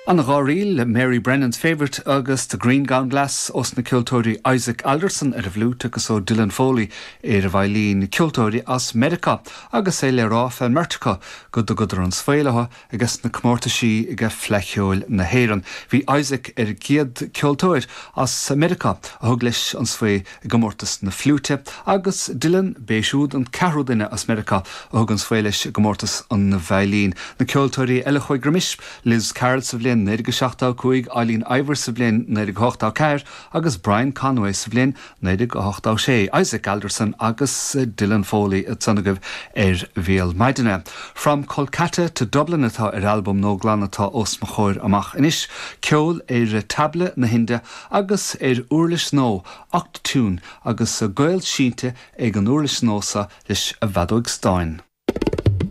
An dá ríl, Mary Brennan's Favourite agus The Green Gowned Lass ós na ceoltóirí Isaac Alderson ar an bhfliúit agus ó Dylan Foley ar an veidhlín, ceoltóirí as Meiriceá agus é le rá fén mbeirt acu go dtugadar an svae leo ages na comórtaisí age Fleadh Cheoil na hÉireann. Bhí Isaac ar an gcéad ceoltóir as Meiriceá a thug leis an svae i gcomórtas na fliúite agus Dylan, b'é siúd an ceathrú duine as Meiriceá a thug an svae leis i gcomórtas an veidhlín. Na ceoltóirí eile a chuaigh roimis, Liz Carroll sa bhliain 1975, Eileen Ivers sa bhliain 1984 agus Brian Conway sa bhliain 1986, Isaac Alderson agus Dylan Foley ansan agaibh ar Bhéal Maidine. From Kolkata to Dublin atá ar albam Nóglann atá os mo chomhair amach anois, ceol ar tabla na hInde agus ar uirlis nua, Octatune, agus gaol sínte ag an uirlis nua so leis an bhfeadóig stáin.